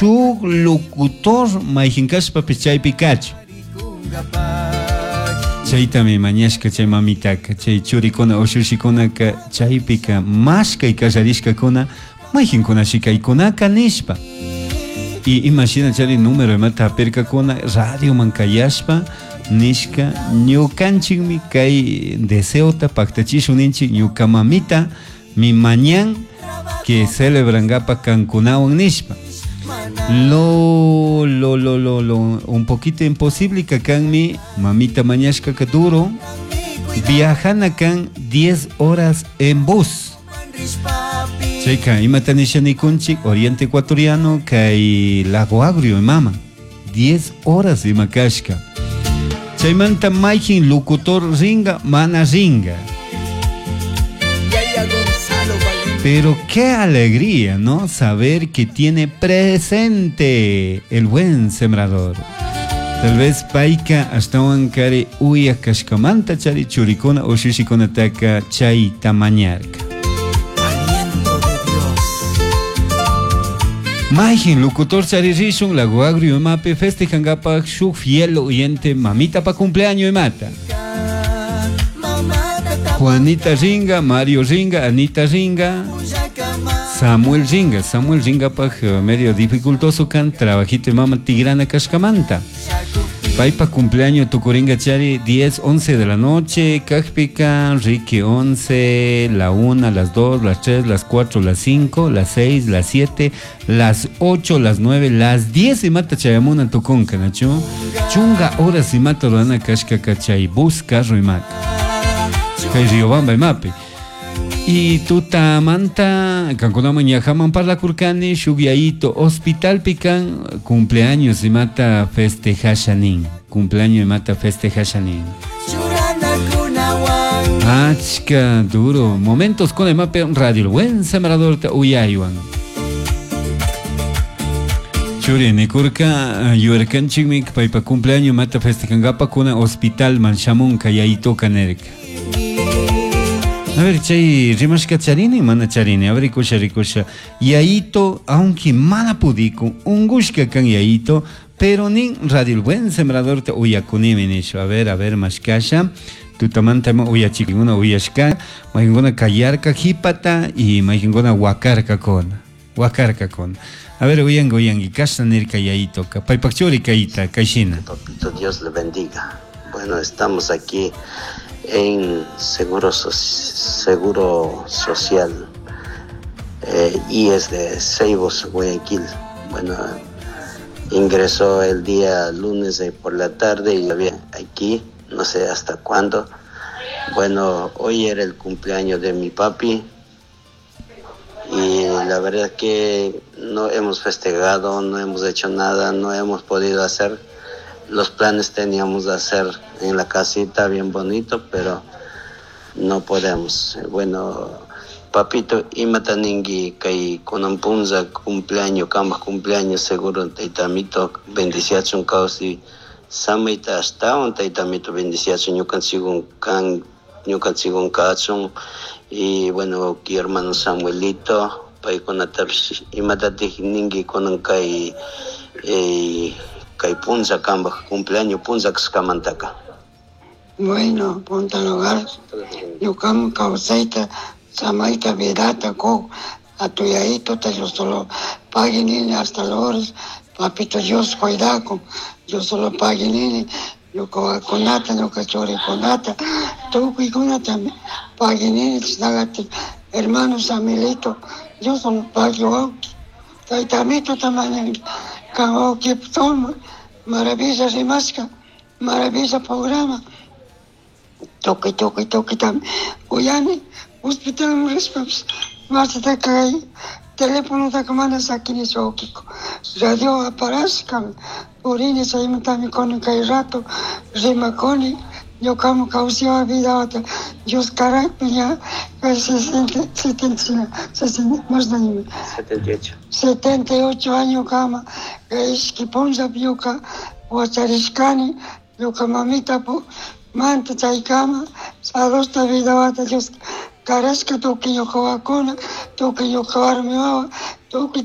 Shuk locutor mayjin kashpapish chaypi kachun. Chaytami mañashka chay mamitaka, chay churikuna ushushikunaka chaypika mashkay kallarishkakuna mayjinkunashi kaykunaka nishpa. Y ima shina chari número imata hapirkakuna radioman kayashpa nishka ñukanchikmi kay deseota paktachishun ninchik ñuka mamita mi mañan que celebrangapak kankunawan nishpa. Lo, lo, lo, lo, lo, un poquito imposible kanmi mamita mañashkaka duro viajana kan 10 horas en bus. Chayka imata nisha nikunchik Oriente Ecuatoriano kay Lago Agrio mama 10 horas ima kashka. Chaymanta mayjin locutor ringa mana ringa. Pero qué alegría, ¿no? Saber que tiene presente el buen sembrador. Tal vez payka ashtawan kari uya kashkamanta chari churikuna ushushikunataka chayta mañarka. Aliento de Dios. Mayjin locutor chari rishun Lago Agrio imapi festejangapak shuk fiel oyente mamita pa cumpleaños imata. Juanita ringa, Mario ringa, Anita ringa, Samuel ringa. Samuel ringa paj medio dificultoso kan trabajito mama tigrana kashkamanta. Paypa cumpleaños tukuringa chari 10, 11 de la noche, kajpika, Ricky 11, la 1, las 2, las 3, las 4, las 5, las 6, las 7, las 8, las 9, las 10 y mata chayamuna tukunka, nachu. Chunga horas y mata rurana kashka kachay bus carro y mata. Kay Riobamba imapi. Y tutamanta kankunaman ñajaman parlakurkani shuk yayito hospitalpi kan cumpleaños imata festejasha nin. Cumpleaños imata festejasha nin. Achka duro. Momentos con imapi radio El Buen Sembrador ta uyaywan. Churi nikurka yuyarkanchikmi paypa cumpleaños imata festejankapa kunan hospitalman shamunka yayitoka nirka. A ver, chay rimashka charini, mana charini. A ver, rikusha, rikusha. Yayito, aunque mana pudikun, ungushka kan yayito, pero nin Radio El Buen Sembrador te uyakunimi nisho. A ver, mashkasha. Tutamanta ma uyachikuna uyashka, mayjinguna kayarka jipata y mayjinguna wakarka kona. Wakarka kona. A ver, uyangi, uyangi, kashna nirka yayito ka. Paypak churi kayita, kayshina. Papito, Dios le bendiga. Bueno, estamos aquí en Seguro Social IES de Ceibos, Guayaquil. Bueno, ingresó el día lunes por la tarde y había aquí, no sé hasta cuándo. Bueno, hoy era el cumpleaños de mi papi y la verdad que no hemos festejado, no hemos hecho nada, no hemos podido hacer. Los planes teníamos de hacer en la casita bien bonito, pero no podemos. Bueno, papito, imata ningui kay kunan punza cumpleaños, kambaj cumpleaños, seguro taytamito bendiciachun kawsi, samayta ashtawan taytamito bendiciachun, ñukanchikun kan, ñukanchikun kachun. Y bueno, ki hermano Samuelito, paykunatapish imatatik ningui kunan kay punza kambaj cumpleaños punza kaskamantaka. Bueno, punta lugar, ñukaman kawsayta, samayta, vidata, ko, a tu yayito te yo solo pague nini hasta la hora, papito Dios cuidako, yo solo pague nini, ñuka wakunata, ñuka churikunata, tukuykunata pague nini, chinalati, hermano Samuelito, yo solo pague wawki, taytamito tamañanki, kan wawki toma, maravilla rimashka, maravilla programa, tukuy, tukuy, tukuy tam, uyani, hospital rishpapish, masata kay teléfono mana sakini wawkiko, radio aparashkami, purini chaymantami kunan kay rato rimakuni, ñukaman kawsaywan vidawata Dios karakpi ña kay sesenta, setenta, sesenta, más de año. 78. 78 años kama, kay ishki punllapi ñuka wacharishkani, ñuka mamita pu manta chaykama, salusta vidawata Dios karashka tukuy ñuka wawakuna, tukuy ñuka warmi wawa, tukuy